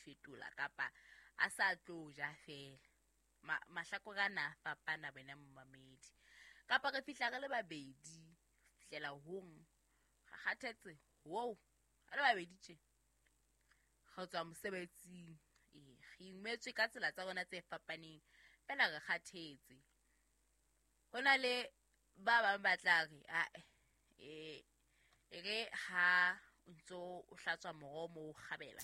fetola kapa a sa tlo ja fela. Mahlakore ana a fapana wena momamedi. Kapa re fihla re le babedi, fihlela hong, re kgathetse, wow, re le babedi tje. Re tswa mosebetsing, ee, re imetswe ka tsela tsa rona tse fapaneng, fela re kgathetse. Ho na le ba bang ba tla re, ae, e re ha o ntso o hlatswa moroho moo o kgabela,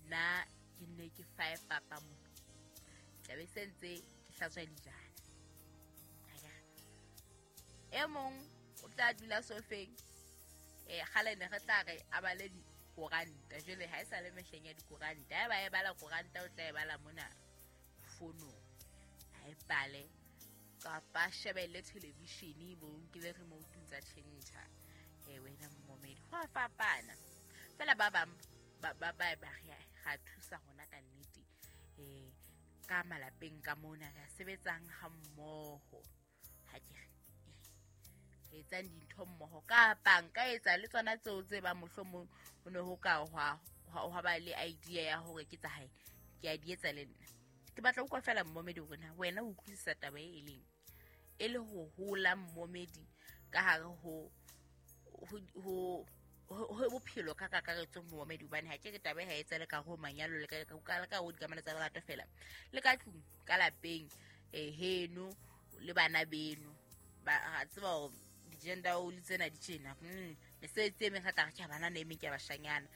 nna ke nne ke fae papa mo. Tlabe se ntse ke hlatswa dijana. E mong o tla dula sofeng, kgale ne re tla re a bale dikoranta, jwale ha e sa le mehleng ya dikoranta. Ha eba e bala koranta, o tla e bala mona fonong, ha e bale kapa shebelle televishene, bo nkile remote tsa tjhentjha. Wena momamedi, ho a fapana fela. Ba bang ba ba ba re ra thusa rona ka nnete, ka malapeng ka mona re sebetsang ha mmoho, ha ke re re etsang dintho mmoho, kapa nka etsa le tsona tseo tse ba mohlomong ho ne ho ka hwa ba le idea ya hore ke tsa hae, ke a di etsa le nna. Ke batla utlwa fela mmomedi hore na wena o utlwisisa taba e leng e le ho hola mmomedi ka hare ho bophelo ka kakaretso mmomedi, hobane ha ke re taba e ha etsa le ka ho manyalo le ka ho dikamano tsa lerato fela, le ka tlung ka lapeng, heno le bana beno ba tseba hore di-gender role tsena di tjena. Mesebetsi e meng re tla re ke bana ne e meng ke ya bashanyana.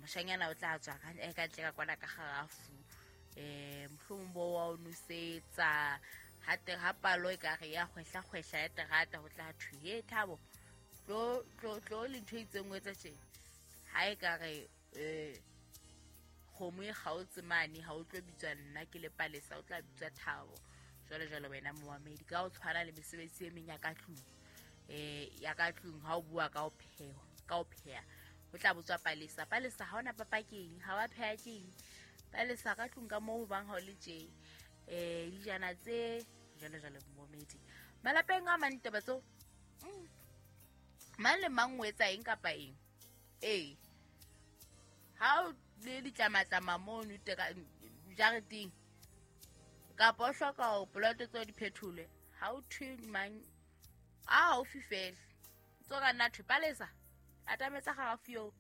Moshanyana o tla tswa ka ntle ka kwana ka kgarafu, mohlomong bo wa o nosetsa, ha palo e ka re ya kgwehla kgwehla ya terata, ho tla thwe he Thabo, tlo tlo tlo le ntho e itseng o etsa tjena. Ha e ka re kgomo e kgaotse mane, ha o tlo bitswa nna ke le Palesa, o tla bitswa Thabo, jwalo jwalo. Wena momamedi, ka o tshwana le mesebetsi e meng ya ka tlung, ya ka tlung, ha o bua ka ho pheha, ho tla botswa Palesa. Palesa, ha ona papa keng, ha wa pheha keng? Palesa, ka tlung ka moo bang ha o le tje, dijana tse jwalo jwalo. Momamedi, malapeng a mang taba tseo, mang le mang o etsa eng kapa eng. Ha o le ditlamatlama mono jareteng, kapa o hloka hore poloto tseo di phetholwe, ha o thwe mang a haufi fela, tso ka nna thwe Palesa, atametsa kgarafu eo,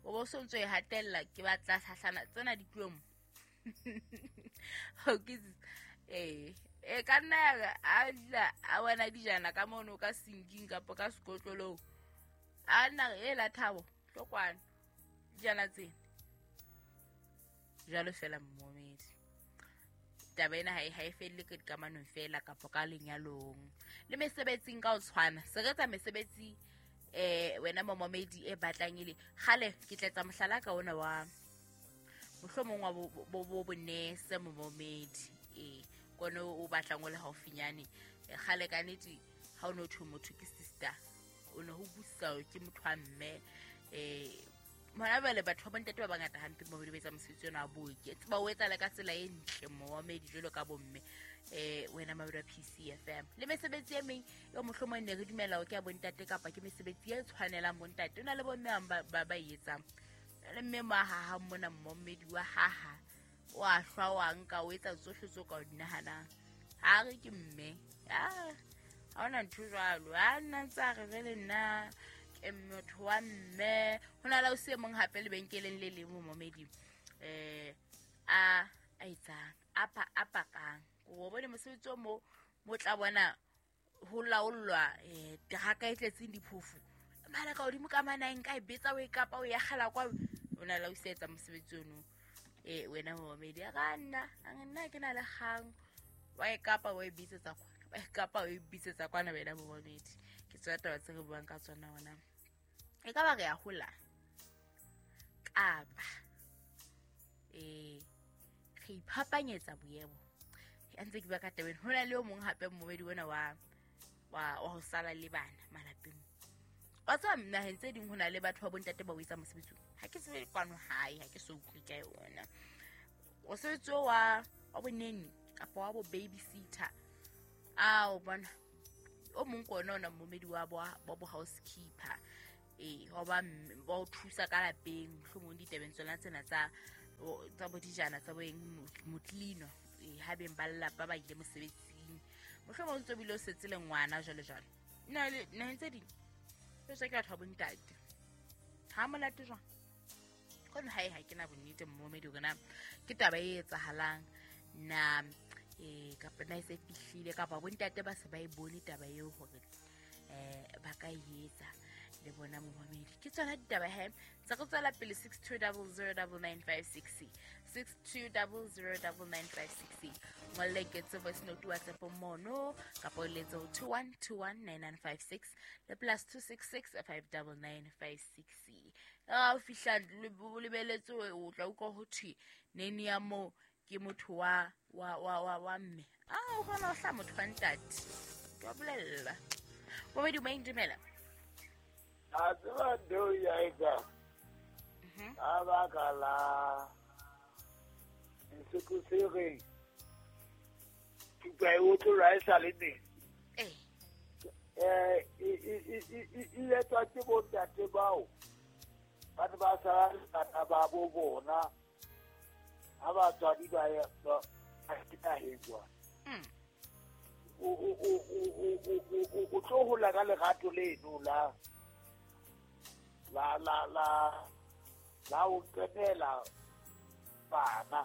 o bo so ntso e hatella, ke batla hlahlana tsena di tluwe mo. Ka nna ya a dula a bona dijana ka mono ka sinking kapa ka sekotlolong, a nna e la Thabo, tlo kwano dijana tsena jwalo fela. Mmomedi, taba ena ha e felle ka dikamanong fela kapa ka lenyalong, le mesebetsing ka ho tshwana. Se re etsa mesebetsi, wena momamedi, e batlang e le kgale. Ke tla etsa mohlala ka ona wa mohlomong wa bo bonese momamedi, kone o batlang o le haufinyane. Kgale ka nnete ha o no thwe motho ke sister, o ne ho busa ke motho wa mme. Hona jwale batho ba bontate ba bangata hampe momamedi ba etsa mosebetsi ona wa booki, tseba o etsa le ka tsela e ntle momamedi, jwalo ka bomme. Wena mamedi wa PCFM, le mesebetsi e meng eo mohlomong ne re dumela hore ke ya bontate kapa ke mesebetsi e tshwanelang bontate, o na le bomme bang ba e etsang. Le mme mo a hahang mona momamedi, wa haha, o a hlwa, wa nka, o etsa tsohle tseo ka o di nahanang. Ha re ke mme, ha hona ntho jwalo, ha nna ntse a re jwale nna ke motho wa mme. Ho na le ausi e mong hape lebenkeleng le leng momamedi, a etsang, a pakang, o bone mosebetsi o mo tla bona ho laollwa teraka e tletseng diphofu mala ka hodimo ka mana, nka e betsa o e kapa o ya kgela kwa. O na le ausi a etsa mosebetsi ono, wena momamedi, a ka nna nna ke na le kgang, wa e kapa o e bitsetsa kwana, wa e kapa o e bitsetsa kwana. Wena momamedi, ke tsona taba tse re buang ka tsona. Ona e ka ba re ya hola kapa re iphapanyetsa boemo. A ntse ke bua ka tabeng, ho na le o mong hape momedi ona wa ho sala le bana malapeng. Wa tseba naheng tse ding ho na le batho ba bontate ba o etsa mosebetsi, ha ke tsebe kwano hae, ha ke so utlwe ka yona mosebetsi wa boneni kapa wa bo babysitter. A o bona o mong ke ona ona momedi wa bo housekeeper, wa ba o thusa ka lapeng, mohlomong ditabeng tsona tsena tsa Tsa bo dijana tsa bo eng motlino ha beng ba lelapa ba ile mosebetsing, mohlomong o ntso bile o setse le ngwana jwalo jwalo. Naheng tse ding tse ke batho ba bontate ha monate jwang kono hae ha ke na bonnete mmomedi hore na ke taba e etsahalang na kapa na e se fihlile kapa bontate ba se ba e bone taba eo hore ba ka e etsa le bona momamedi. Ke tsona ditaba he tsa go tswela pele 62009956 62009956 ngolle ketse voice note WhatsApp mono kapa o letse ho 21219956 le +266 59956. Ha o fihla o lebeletse o tla utlwa ho thwe nene ya moo ke motho wa mme. O bona o hla motho wa ntate. Ke a bolella. Momedi o dumela. A tseba ntho ya etsa ka baka la sesotho se reng thupa e otlolwa e sa le neng. E etswa ke bontate bao ba ne ba sala le bana ba bo bona ha batswadi ba ya naheng kwana. O tlo hola ka lerato leno la la la la la o qetela bana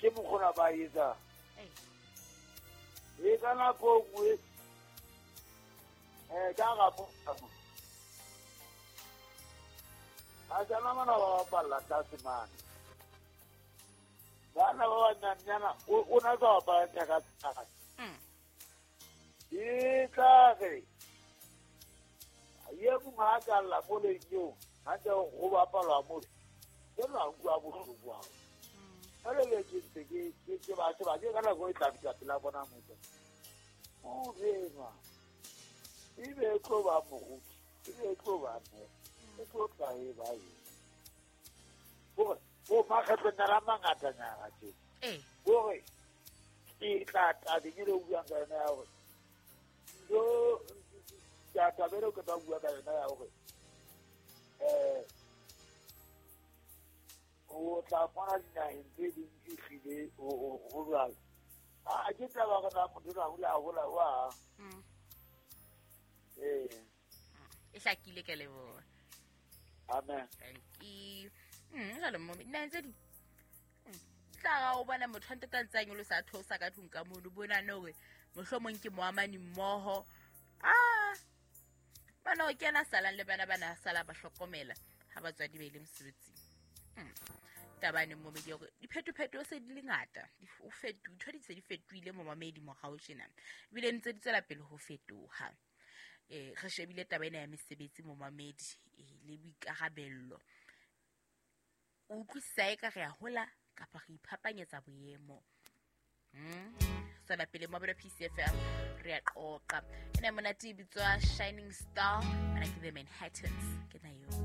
ke mokgona ba etsa e ka nako nngwe ka ga mo a tsana mana ba bapalla tlase mane bana ba banyanyana o na ka bapala thaka tsaka e tla re ye mongwe a ka lla mo leng eo gantse go bapalwa mole ke la utlwa bohloko ao jale le ke ntse ke ba sheba ke ka nako e tla fihla pela bona motho o renwa ebe e tlo ba moruti ebe e tlo ba mme e tlo tla e ba eng gore bo makgetlonyana a mangatanyana tje gore ke tla tabeng e le o buang ka yona ya gore ntho taba eo ke tla bua ka yona ya gore o tla fumana dinaheng tse ding ehlile ho jwalo. A ke taba gore na motho a hula a hola wa e hlakile ke leboha. Amen. Thank you. Jwale mo dinaheng tse ding tla ga o bona motho a ntate a ntse a nyolosa a theosa ka tlung ka mono bona ne hore mohlomong ke moamani mmoho. Bana o kena salang le bana bana sala ba hlokomela ha batswadi ba ile mosebetsing. Tabane momedi hore diphetopheto se di le ngata, o fetu ntho di se di fetohile momamedi morao tjena ebile ntse di tswela pele ho fetoha. Re shebile taba ena ya mesebetsi momamedi le boikarabello. O utlwisisa eka re a hola kapa re iphapanyetsa boemo. Tswela pele mobile PCFM re a qoqa. Ena monate e bitswa Shining Star, bana ke The Manhattans ke na yo.